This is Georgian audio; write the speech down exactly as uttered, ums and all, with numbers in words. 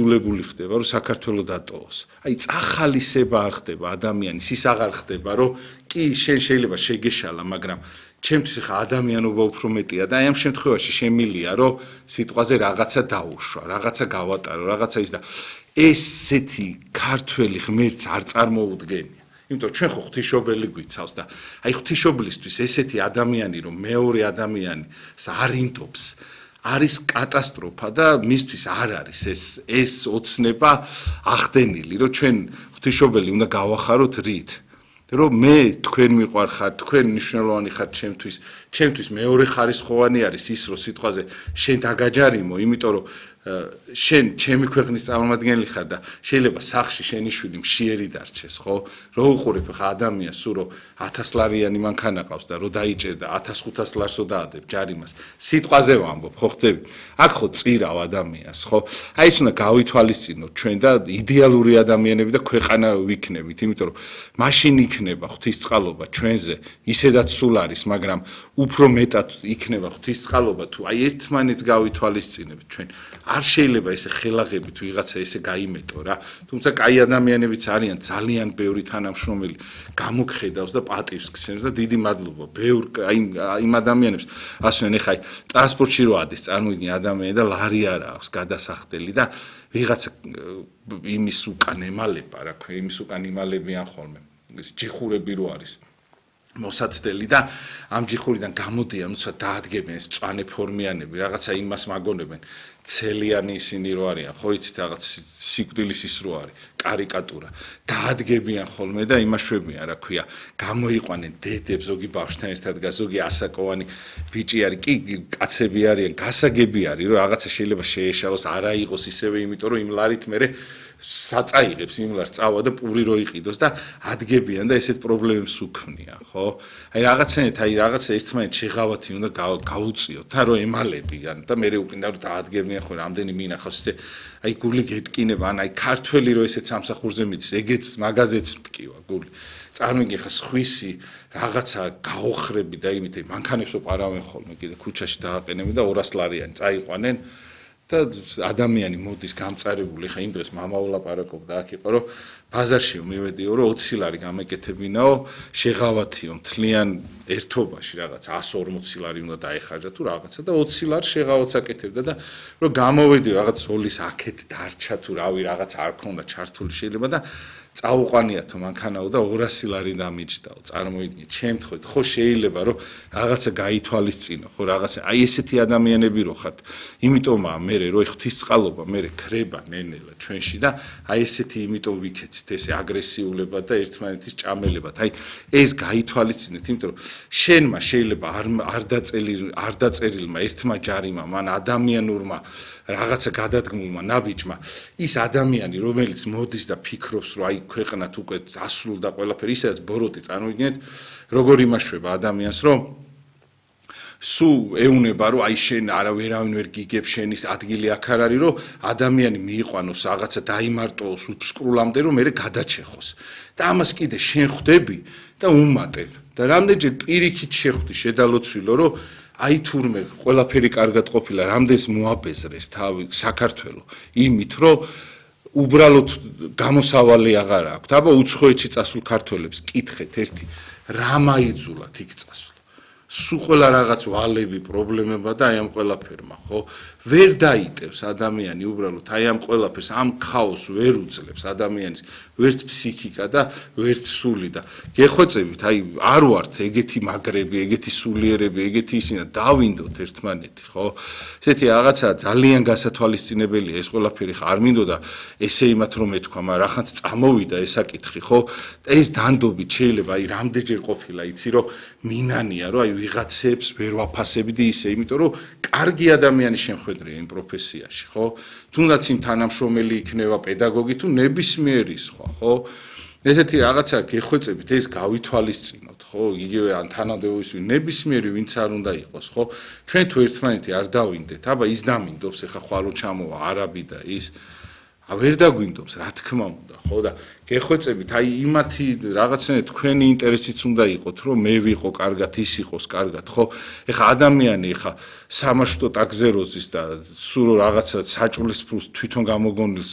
იძულებული ხდება, რომ საქართველოს დატოვოს. აი წახალისება არ ხდება ადამიანის, ის აღარ ხდება, რომ კი შენ შეიძლება შეგეშალა, მაგრამ ჩემთვის ხა ადამიანობა უფრო მეტია და აი ამ შემთხვევაში შემილია, რომ სიტყვაზე რაღაცა დაუშვა, რაღაცა გავატარო, რაღაცა ის და ესეთი ქართველი ღმერთს არ წარმოუდგენია. იმიტომ ჩვენ ხო ღვთისმშობელი გვიცავს და აი ღვთისმშობლისთვის ესეთი ადამიანი, რომ მეორე ადამიანს არ ინდობს, არის კატასტროფა და მისთვის არ არის ეს ეს ოცნება ახდენილი, რომ ჩვენ ღვთისმშობელი უნდა გავახაროთ რით. რომ მე თქვენ მიყვარხართ, თქვენ მნიშვნელოვანი ხართ ჩემთვის, ჩემთვის მეორე ხარისხოვანი არის ის, რომ სიტყვაზე შენ დაგაჯარიმო, იმიტომ რომ შენ ჩემი ქვეყნის წარმომადგენელი ხარ და შეიძლება სახში შენი შვილი მშიერი დარჩეს, ხო? რო უყურებ ხა ადამიანს, სულ რომ ათას ლარიანი მანქანა ყავს და რო დაიჭერდა ათას ხუთას ლარსო დაადებ ჯარიმას. სიტყვაზე ვამბობ, ხო ხდები? აქ ხო წირავ ადამიანს, ხო? აი ეს უნდა გავითვალისწინოთ ჩვენ და იდეალური ადამიანები და ქვეყანა ვიქნებით, იმიტომ რომ მაშინ იქნება ღვთისწყალობა ჩვენზე, ისედაც სულ არის, მაგრამ უფრო მეტად იქნება ღვთისწყალობა თუ აი ერთმანეთს გავითვალისწინებთ ჩვენ. არ შეიძლება ესე ხელაღებით ვიღაცა ესე გაიმეტო რა. თუმცა კაი ადამიანებიც არიან ძალიან ბევრი თანამშრომელი გამოგხედავს და პატივს გცემს და დიდი მადლობა. ბევრ აი იმ ადამიანებს ასვენ ეხა ტრანსპორტში რო ადის წარმოიდგინე ადამიანი და ლარი არ აქვს გადასახდელი და ვიღაცა იმის უკან ემალება რა ქვია, იმის უკან იმალებიან ხოლმე. ეს ჯიხურები რო არის მოსაცდელი და ამ ჯიხურიდან გამოდიან, თუმცა დაადგებენ ეს მწვანე ფორმიანები, რაღაცა იმას მაგონებენ. ცელიანი ისინი რო არიან, ხო იცით რაღაც სიკვდილის ის რო არის, კარიკატურა. დაადგებიან ხოლმე და იმაშვებიან, რა ქვია, გამოიყვანენ დედებს, ზოგი ბავშვთან ერთად გას, ზოგი ასაკოვანი ბიჭი არის, კი კაცები არიან, გასაგები არის, რომ რაღაცა შეიძლება შეეშალოს, არა იყოს ისევე, იმიტომ რომ იმ ლარით მერე საწაიღებს იმ ლარს წავა და პური რო იყიდოს და ადგებიან და ესეთ პრობლემებს უქმნიან, ხო? აი რაღაცნაირად, აი რაღაცა ერთმანეთ შეღავათი უნდა გაუწიოთ, და რომ ემალებიან და მე უკინდა რომ დაადგებიან ხო რამდენი მინახავს ისე აი გული გეტკინება, ან აი ქართველი რო ესეთ სამსახურზე მიდის, ეგეც მაგაზეც მткиვა გული. წარმოიდგინე ხა სხვისი რაღაცა გაოხრები და იმით მანქანებს ვაყარავენ ხოლმე კიდე ქუჩაში დააყენებენ და ორას ლარიანი წაიყვანენ და ადამიანი მოდის გამწარებული, ხა იმ დღეს მამა ვლაპარაკობდა აქ იყო, რომ ბაზარში მივედიო, რომ ოცი ლარი გამეკეთებინაო, შეღავათიო მთლიან ერთობაში რაღაც ასი ორმოცი ლარი უნდა დაეხარჯა თუ რაღაცა და ოცი ლარი შეღავათს აკეთებდა და რომ გამოვედიო რაღაც ზოლის აქეთ დარჩა თუ რავი რაღაც არ ქონდა ჩართული შეიძლება და წაუყვანიათო მანქანაო და ორასი ლარი დამიჯდაო. წარმოიდგინე, ჩემთხვევით ხო შეიძლება რომ რაღაცა გაითვალისწინო, ხო რაღაცა აი ესეთი ადამიანები რო ხართ. იმიტომაა მე რო ღვთისწყალობა მე ქრება ნენელა ჩვენში და აი ესეთი იმიტომ ვიქეცით ესე აგრესიულება და ერთმანეთის ჭამელებად. აი ეს გაითვალისწინეთ, იმიტომ რომ შენმა შეიძლება არ არ დაწელი არ დაწერილმა ერთმა ჯარიმმა, მან ადამიანურმა რაღაცა გადადგმულმა ნაბიჯმა ის ადამიანი რომელიც მოდის და ფიქრობს რომ აი ქვეყნად უკვე ასრულდა ყველაფერი ისაც ბოროტი წარმოიდგინეთ როგორ იმაშვება ადამიანს რომ სუ ეუნება რომ აი შენ არა ვერავინ ვერ გიგებს შენის ადგილი აქ არ არის რომ ადამიანი მიიყვანოს რაღაცა დაიმარტოოს უფსკრულამდე რომ მე გადაჩეხოს და ამას კიდე შენ ხვდები და უმატებ და რამდენჯერ პირიქით შეხვდი შედალოცვილო რომ აი თურმე ყველაფერი კარგად ყოფილა, რამდენს მოაპეზრეს თავი საქართველოს იმით, რომ უბრალოდ გამოსავალი აღარ აქვს. აბა უცხოეთში წასულ ქართველებს კითხეთ ერთი, რა მაიძულათ იქ წასვლა. სულ ყველა რაღაც ვალები, პრობლემება და აი ამ ყველაფერმა, ხო? ვერ დაიტევს ადამიანი უბრალოდ აი ამ ყველაფერს, ამ ქაოსს ვერ უძლებს ადამიანის ვერც ფსიქიკა და ვერც სული და გეხვეწებით, აი არ ვართ ეგეთი მაგრები, ეგეთი სულიერები, ეგეთი ისინა დავინდოთ ერთმანეთი, ხო? ესეთი რაღაცა ძალიან გასათვალისწინებელია ეს ყველაფერი ხა არ მინდოდა ესე იმათ რომ ეთქვა, მაგრამ რახანს წამოვიდა ესაკითხი, ხო? ეს დანდობით შეიძლება აი რამდენჯერ ყოფილა, იცი რომ მინანია, რომ აი ვიღაცებს ვერ ვაფასებდი ისე, იმიტომ რომ კარგი ადამიანი შემხედრია იმ პროფესიაში, ხო? თუნდაც იმ თანამშრომელი იქნება პედაგოგი თუ ნებისმიერი სხვა, ხო? ესეთი რაღაცა გეხვეწებით, ეს გავითვალისწინოთ, ხო? იგივე ან თანადოების ნებისმიერი ვინც არ უნდა იყოს, ხო? ჩვენ თუ ერთმანეთი არ დავინდეთ, აბა ის დამინდობს, ეხა ხვალო ჩამოვა არაბი და ის ა ვერ დაგვინდობს, რა თქმა უნდა, ხო და გეხვეწებით, აი იმათი რაღაცნაირად თქვენი ინტერესიც უნდა იყოთ, რომ მე ვიყო კარგად, ის იყოს კარგად, ხო? ეხა ადამიანი ეხა სამაშტო ტაგზეროზის და სულ რაღაცა საჭმლის ფულს თვითონ გამოგონილს